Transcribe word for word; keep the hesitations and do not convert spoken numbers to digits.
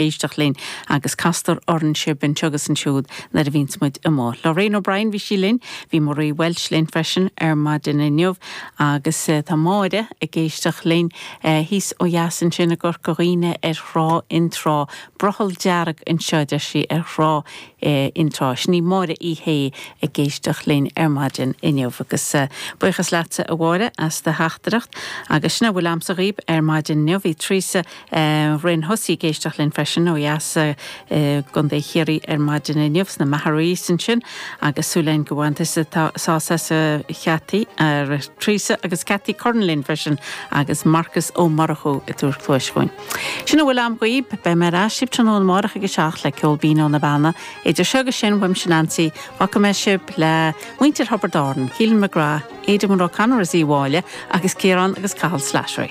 Éisteacht linn agus castar orainn sibh anseo agus ansiúd nuair a bhíonns muid amuigh. Lorraine O'Brien bhí sí linn, bhí Marie Welsh linn freisin ar maidin inniu agus eh, tá Máire ag éisteacht linn eh, thíos ó dheas ansin i gCorca Dhuibhne ar thrá Fhionntrá, brothall dearg anseo deir sí ar thrá eh, Fhionntrá. Sin í Máire í hé ag éisteacht linn ar maidin inniu agus eh, buíochas leatsa a Mháire as do theachtaireacht agus sin a bhfuil agamsa dhaoibh ar maidin inniu bhí Teresa eh, Rinn Hussey ag éisteacht linn freisin ó dheas eh, gContae Chiarraí ar maidin inniu sna Magheraí ansin agus súil againn go bhfuil tusa sásta a Cheataí ar Teresa agus Cathy Curran linn freisin agus Marcus Ó Murchú ag tabhairt cluas dúinn. Sin a bhfuil agam dhaoibh beidh mé ar ais tráthnóna amárach ag a seacht le ceol binn ó na Beanna, idir seo agus sin uaimse Nancy, fágfaidh mé sibh le muintir Thiobraid Árann, Keelan McGrath, Aidan O'Connor is í bháile agus Ciarán agus Cathal Slattery.